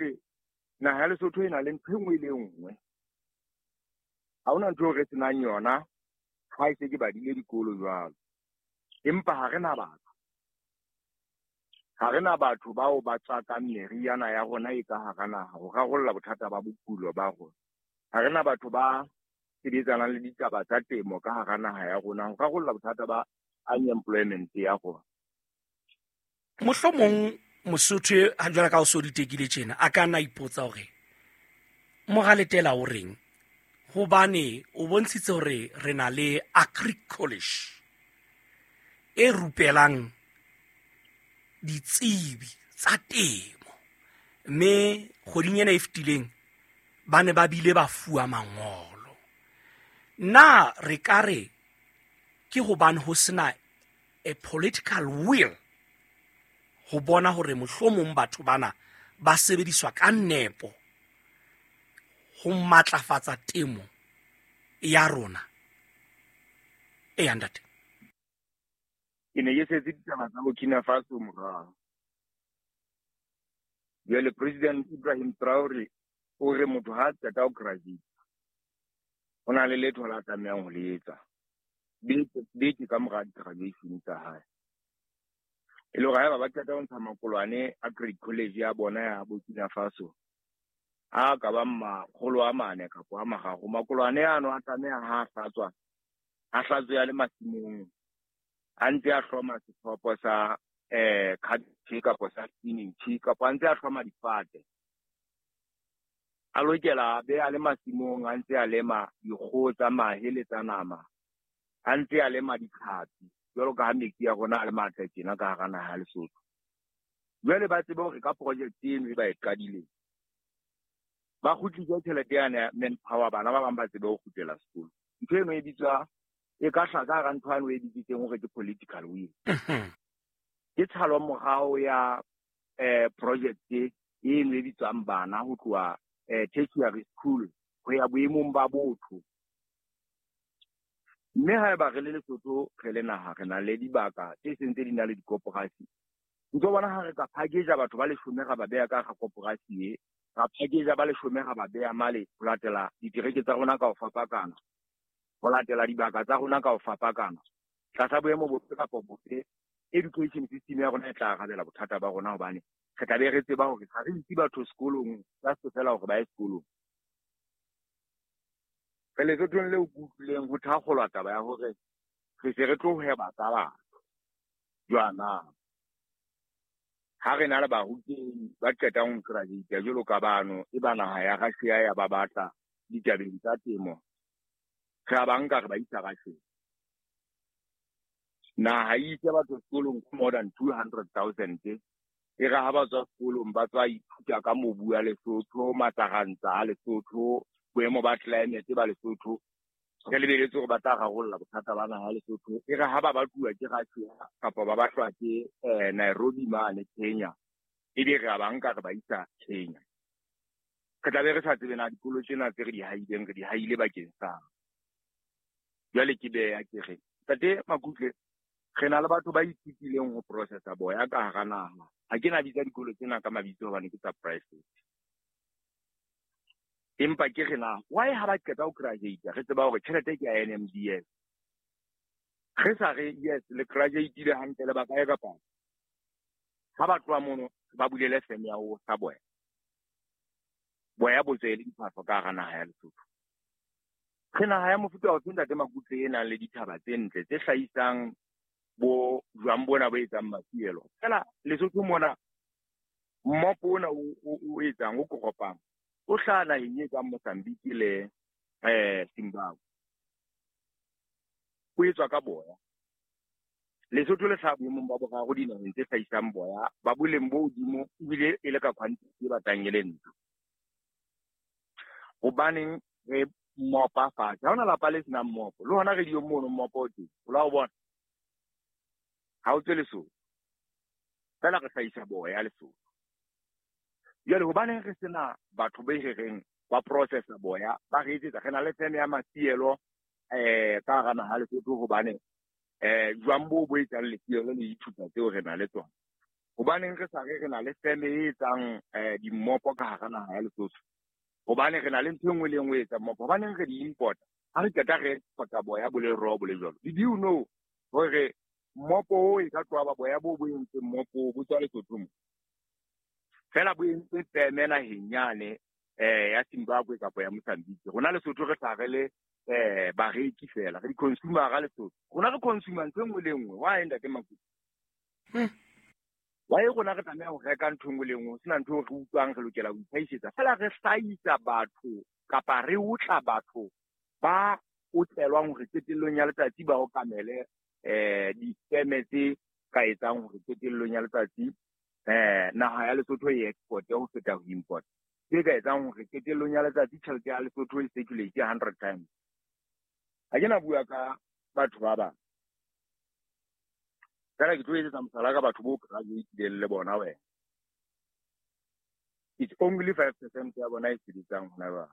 Makutle, naha ya Lesotho e na le ntho e nngwe le e nngwe. Ha hona ntho eo re senang yona ha e se ke badile dikolo jwalo. Empa ha re na batho. Ha re na batho bao ba tswakang meriana ya rona e ka hara naha ho rarolla bothata ba bokulo ba rona. Ha re na batho ba sebetsanang le ditaba tsa temo ka hara naha ya rona ho rarolla bothata ba unemployment ya rona. Mohlomong Mosotho ha jwale ka o so ditekile tjena a ka nna ipotsa hore Moraletela o reng, hobane o bontshitse hore re na le Agri College e rupelang ditsebi tsa temo, mme kgweding ena e fetileng ba ne ba bile ba fuwa mangolo. Na re ka re ke hobane ho sena a political will ho bona hore mohlomong batho bana ba sebediswa ka nepo ho matlafatsa temo ya rona? Eya ntate. Ke ne ke setse ditaba tsa Burkina Faso morao. Jwale President Ibrahim Traore o re motho ha qeta ho graduate ho na le letho la tlamehang ho le etsa beke ka mora graduation tsa hae. E le hore haeba ba qeta ho ntsha makolwane a grade college ya bona ya Burkina Faso a ka bang makgolo a mane kapa a mararo, makolwane ano a tlameha ha a hlatswa, a hlatswe a le masimong a ntse a hloma sethopo sa cabbage kapa sa spinach kapa a ntse a hloma difate. A lokela a be a le masimong a ntse a lema dikgoho tsa mahe le tsa nama, a ntse a lema ditlhapi jwalo ka ha metsi ya rona a le matle tjena ka hara naha ya Lesotho. Jwale ba tsebe hore ka project eno e ba e qadileng ba kgutlise tjhelete yane ya manpower, bana ba bang ba tsebe ho kgutlela sekolo. Ntho eno e bitswa e ka hlaka hara ntho eno e bitsitseng hore ke political will. Ke tshalo morao ya project eno e bitswang bana ho tloha tertiary school ho ya boemong ba botho. Mme haeba re le Lesotho re le naha re na le dibaka tse seng tse di na le dikoporasi, ntso bona ha re ka package batho ba leshome ra ba beha ka hara koporasi e, ra package ba leshome ra ba beha male ho latela ditereke tsa rona ka ho fapakana, ho latela dibaka tsa rona ka ho fapakana, tlasa boemo bofe kapa bofe, education system ya rona e tla arabela bothata ba rona, hobane re tla be re tseba hore ha re itse batho sekolong just fela hore ba ye sekolong. Re Lesothong leo ke utlwileng ho thakgolwa taba ya hore re se re tlo hweba ka batho jwana. Ha re na le barutehi ba qetang ho graduate jwalo ka bano, e ba naha ya Russia ya ba batla ditabeng tsa temo, re a ba nka re ba isa Russia. Naha e ise batho sekolong ka more than 200,000. E re ha ba tswa sekolong ba tswa ithuta ka mobu wa Lesotho, matsarantsa a Lesotho, boemo ba climate ba Lesotho, re lebeletse hore ba tla rarolla bothata ba naha ya Lesotho. E re ha ba batluwa ke Russia kapa ba batlwa ke Nairobi mane Kenya, ebe re a ba nka re ba isa Kenya. Re tla be re sa tsebe na dikolo tsena tse re di haileng re di haile bakeng sa. Jwale ke beha ke re Ntate Makutle, re na le batho ba ithutileng ho processa boya ka hara naha. Ha ke na bitsa dikolo tsena ka mabitso hobane ke tsa private. Empa ke re na why ha ba qeta ho graduate re tseba hore tjhelete ke ya NMDS. Re sa re yes le graduate-ile hantle le ba kae kapa ha ba tloha mono ba bulele firm ya ho sa boya. Boya bo tswe le diphahlo ka hara naha ya Lesotho. Re naha ya mofuta ofe Ntate Makutle e nang le dithaba tse ntle tse hlahisang bo jwang bona bo etsang mafielo. Fela Lesotho mona mmopo ona o etsang o koropang o hlaha naheng e kang Mozambique le Zimbabwe. O etswa ka boya. Lesotho le hlaha boemong ba boraro dinaheng tse hlahisang boya ba boleng bo hodimo ebile e le ka quantity e batlang e le ntle. Hobaneng re mmopa fatshe? Ha hona lapa le senang mmopo. Le hona radio mono mmopo o teng. O la o bona? Ha o tswe Lesotho. Fela re hlahisa boya Lesotho. Jwale hobaneng re sena batho be re reng ba processa boya, ba re etsetsa, re na le firm ya mafielo ka hara naha Lesotho hobane jwang bo bo etsang lefielo le dithupa tseo re na le tsona. Hobaneng re sa re re na le feme e etsang dimmopo ka hara naha ya Lesotho? Hobane re na le ntho e nngwe le e nngwe e etsang mmopo. Hobaneng re di importa? Ha re qeta re exporta boya bo le raw bo le jwalo. Did you know hore mmopo o e ka tloha ba boya bo bo entseng mmopo bo tswa Lesotho mo? Fela bo entse feme naheng yane ya Zimbabwe kapa ya Mozambique. Rona Lesotho re hlaha re le bareki fela, re di-consumer-a Lesotho. Rona re consumer ntho e nngwe le e nngwe. Why, ntate Makutu? Why rona re tlameha ho reka ntho e nngwe le nngwe, ho sena ntho eo re utlwang re lokela ho itlhahisetsa? Fela re hlahisa batho kapa re otla batho ba otlelwang hore qetellong ya letsatsi ba okamele difeme tse ka etsang hore qetellong ya letsatsi naha ya Lesotho e exporte ho feta ho import. Tse ka etsang hore qetellong ya letsatsi tjhelete ya Lesotho e circulate 100 times. Ha ke na bua ka batho ba bang. Fela ke tlo etsetsa mohlala ka batho bo graduate-ileng le bona wena. It's only 5% ya bona e sebetsang hona jwale.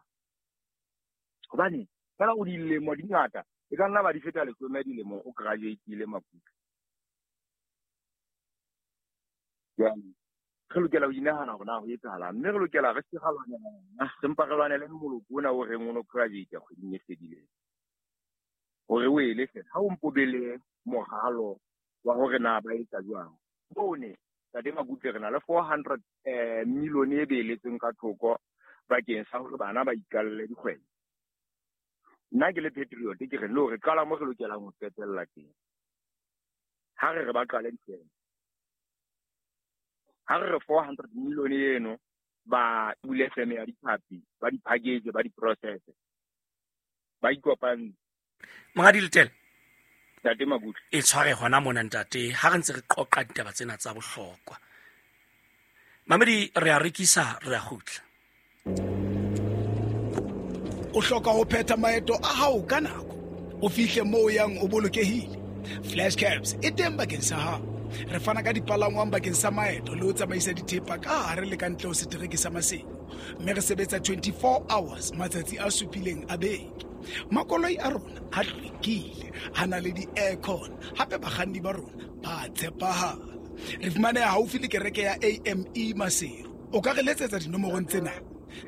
Hobane fela o dilemo di ngata, e ka nna ba di feta 10 dilemo o graduate-ile Makutu. Jwale re lokela ho inahana hore na ho etsahalang, mme re lokela re se ra lwanela yona, re mpa re lwanele moloko ona o reng o no graduate kgweding e fedileng. Hore o ele fela, ha o mpo be le moralo wa hore na ba etsa jwang. Bone, Ntate Makutle, re na le 400 million e beeletsweng ka thoko bakeng sa hore bana ba iqalle dikgwebo. Nna ke le patriot ke re no, re qala mo re lokelang ho qetella teng. Ha re re ba qale dikgwebo. Ha re re 400 million eno ba bule feme ya ditlhapi, ba di package, ba di process. Ba ikopantse. Monghadi Letele. Ntate Makutle. E tshware hona mona ntate, ha re ntse re qoqa ditaba tsena tsa bohlokwa. Mamedi, re a rekisa, re a kgutla. O hloka ho phetha maeto a hao ka nako, o fihle moo o yang o bolokehile. Flash Cabs e teng bakeng sa hao. Re fana ka dipalangwang bakeng sa maeto le ho tsamaisa dithepa ka hare le ka ntle ho setereke sa Maseru. Mme re sebetsa 24 hours matsatsi a supileng a beke. Makoloi a rona a hlwekile, a na le di-aircon, hape bakganni ba rona ba tshepahala. Re fumaneha haufi le kereke ya AME Maseru. O ka re letsetsa dinomorong tsena: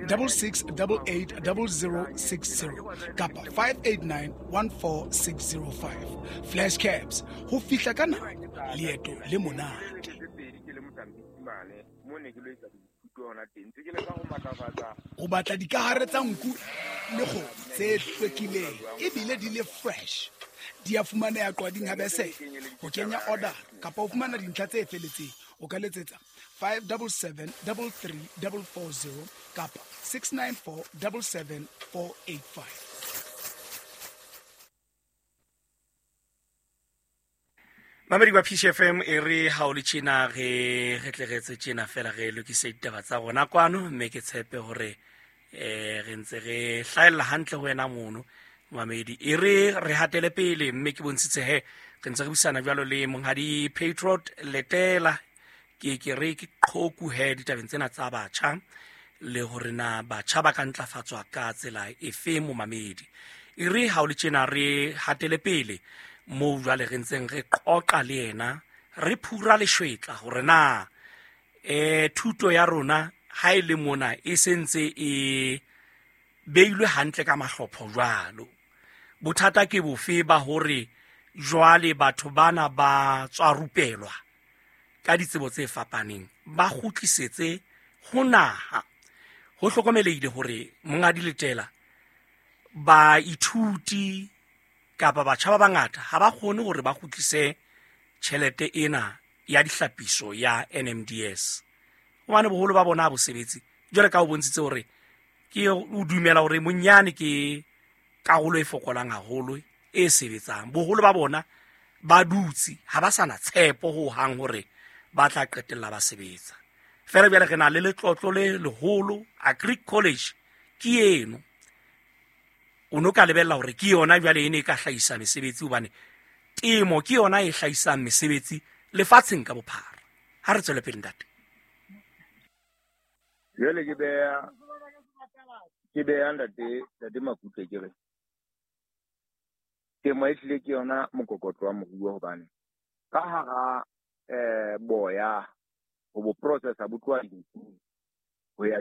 66880060 kapa 589-14605. Flash Cabs, ho fihla ka nako, leeto le monate. O batla dikahare tsa nku le kgomo tse hlwekileng ebile di le fresh. Di a fumaneha Qwading ha Besele. Ho kenya order kapa ho fumana dintlha tse feletseng, o ka letsetsa 577-33440 kapa 694-77485. Mamedi wa Peace FM, e re ha o le tjena re re tle re etse tjena fela, re lokise ditaba tsa rona kwano, mme ke tshepe hore re ntse re hlahella hantle ho wena mono mamedi. E re re hatele pele, mme ke bontshitse he re ntse re buisana jwalo le monghadi Patriot Letela, ke re ke qhoku he ditabeng tsena tsa batjha, le hore na batjha ba ka ntlafatswa ka tsela efe mo mamedi. E re ha o le tjena re hatele pele moo jwale re ntseng re qoqa le yena, re phura leshwetla hore na thuto ya rona ha e le mona e sentse e beilwe hantle ka mahlopho jwalo. Bothata ke bofe ba hore jwale batho bana ba tswa rupelwa ka ditsebo tse fapaneng, ba kgutlisetse ho naha. Ho hlokomelehile hore Monghadi Letela, baithuti kapa batjha ba bangata ha ba kgone hore ba kgutlise tjhelete ena ya dihlapiso ya NMDS, hobane boholo ba bona ha bo sebetse. Jwale ka o bontshitse hore ke o dumela hore monyane ke karolo e fokolang haholo e sebetsang. Boholo ba bona ba dutse, ha ba sa na tshepo ho hang hore ba tla qetella ba sebetsa. Fela jwale re na le letlotlo le leholo, Agri College ke eno. O no ka lebella hore ke yona jwale e ne e ka hlahisa mesebetsi, hobane temo ke yona e hlahisang mesebetsi lefatsheng ka bophara. Ha re tswele pele ntate. Jwale ke beha ntate Makutle ke re temo e hlile ke yona mokokotlo wa moruo, hobane ka hara boya Ho bo processa bo tloha dinku ho ya.